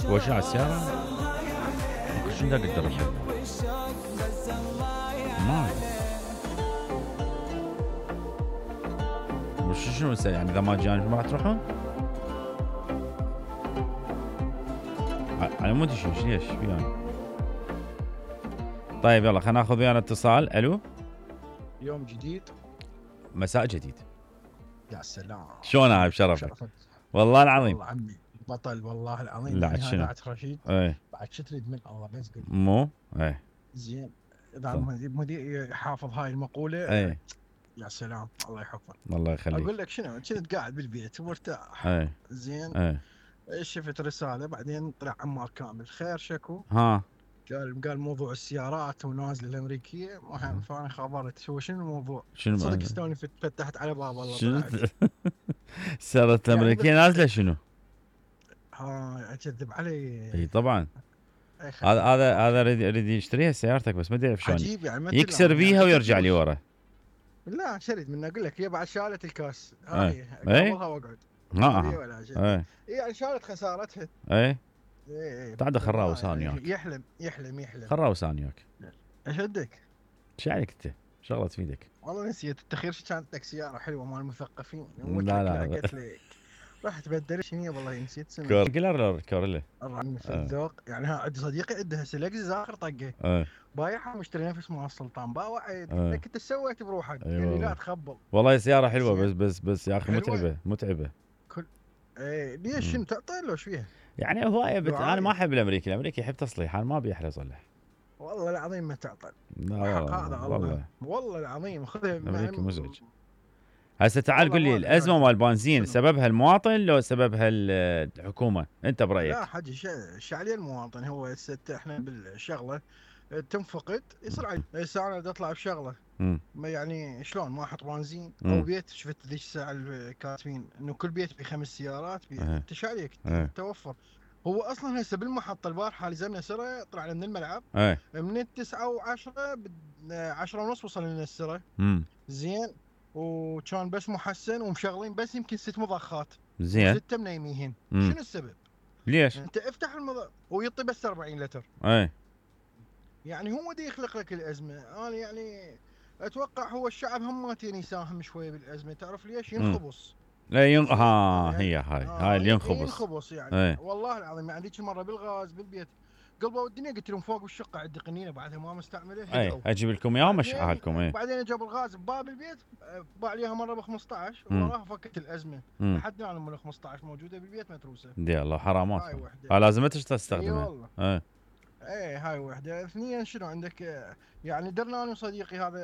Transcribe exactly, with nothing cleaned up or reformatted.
هو شنو على السيارة؟ شنو دا اقدر اركب؟ ما وش شنو نسوي يعني اذا ما جاني ما راح تروحون؟ على مود شو ليش ويانا؟ طيب يلا خلينا ناخذ ويانا اتصال. الو يوم جديد مساء جديد. يا سلام شلونها بشرفك؟ شرفك والله العظيم والله عمي بطل والله العظيم. لا يعني شنو؟ هذا عاد رشيد. ايه بعد شو تريد من الله بس قل مو ايه زين. اذا طيب. مدير يحافظ هاي المقوله ايه يا سلام الله يحفظك. الله يخليك. اقول لك شنو كنت قاعد بالبيت ومرتاح. ايه زين ايه شفت رساله بعدين طلع عمار كامل خير شكو. ها قال قال موضوع السيارات ونازله الامريكيه مهم. فانا خبرت هو شنو الموضوع. شنو صدق استوني فتحت على باب الله شنو طلعت. السيارات الامريكيه يعني نازله شنو؟ ها اكذب علي. اي طبعا هذا هذا هذا يريد يريد يشتريها سيارتك بس ما ادري شلون عجيب يعني يكسر بيها يعني ويرجع لي ورا. لا شريد منه اقول لك هي بعد شالت الكاس ايه هاي قبلها واقعد. ها ايه يعني شالت خسارتها. ايه ايه تعال خراوس انا وياك. يحلم يحلم يحلم خراوس انا وياك. اشدك. ايش عليك انت؟ شغله تفيدك. والله نسيت التخير كانت لك سياره حلوه مال المثقفين. لا لا قلت لك رحت بدل شنو والله نسيت اسمها. كوريلا كوريلا في الذوق يعني. ها عندي صديقي عنده سلكزس اخر طقه. اه بايعها مشتري نفس مال السلطان باوعد اه. لك انت سويت بروحك. أيوة. قال لي لا تخبل. والله سياره حلوه بس بس بس يا اخي حلوة. متعبه متعبه. كل ايه ليش شنو تعطي له ايش فيها؟ يعني هوايه بت... انا ما دعاية. احب الامريكي، الامريكي يحب تصليح، انا ما ابي احلى اصلح. والله العظيم ما تعطل. لا حق والله هذا والله الله والله العظيم خذها. الامريكي مزعج. هسه تعال والله قل لي ما- الازمه مال البنزين شنو؟ سببها المواطن لو سببها ال- الحكومه؟ انت برايك؟ لا حجي ش- شو عليه المواطن. هو هسه احنا بالشغله تنفقد يصير علي. هسه انا بدي اطلع بشغله امم ما يعني شلون ما احط بنزين مم. او بيت. شفت ذيك الساعه كاتبين انه كل بيت بخمس سيارات بي... اه. انت شو عليك اه. توفر. هو اصلا هسه بالمحطه البارحه لزمنا سره طلعنا من الملعب ايه من التسعة وعشرة عشرة ونص وصل لنا السره. امم زين وكان بس محسن ومشغلين بس يمكن ست مضخات زين ستة منيمين. مم. شنو السبب؟ ليش؟ انت افتح المضخ ويعطي بس أربعين لتر. ايه يعني هو دي يخلق لك الازمه. انا يعني اتوقع هو الشعب هماتين يساهم شويه بالازمه. تعرف ليش؟ ينخبص. لا ين... ها هي هاي آه هاي اللي ينخبص. ينخبص يعني ايه. والله العظيم. يعني ذيك مره بالغاز بالبيت قلبوا الدنيا قلت لهم فوق بالشقه عندي قنينه بعدها ما مستعمله. ايه اجيب لكم اياه ومشعها لكم. ايه بعدين جابوا الغاز بباب البيت باع عليها مره ب خمسطعش مم. وراها فكت الازمه. مم. لحد الان ال خمسطعش موجوده بالبيت متروسه. دي الله حرامات. هاي وحده. ها لازم انت اي تستخدمها. والله. ايه ايه هاي وحده. اثنين شنو عندك يعني درنا انا وصديقي هذا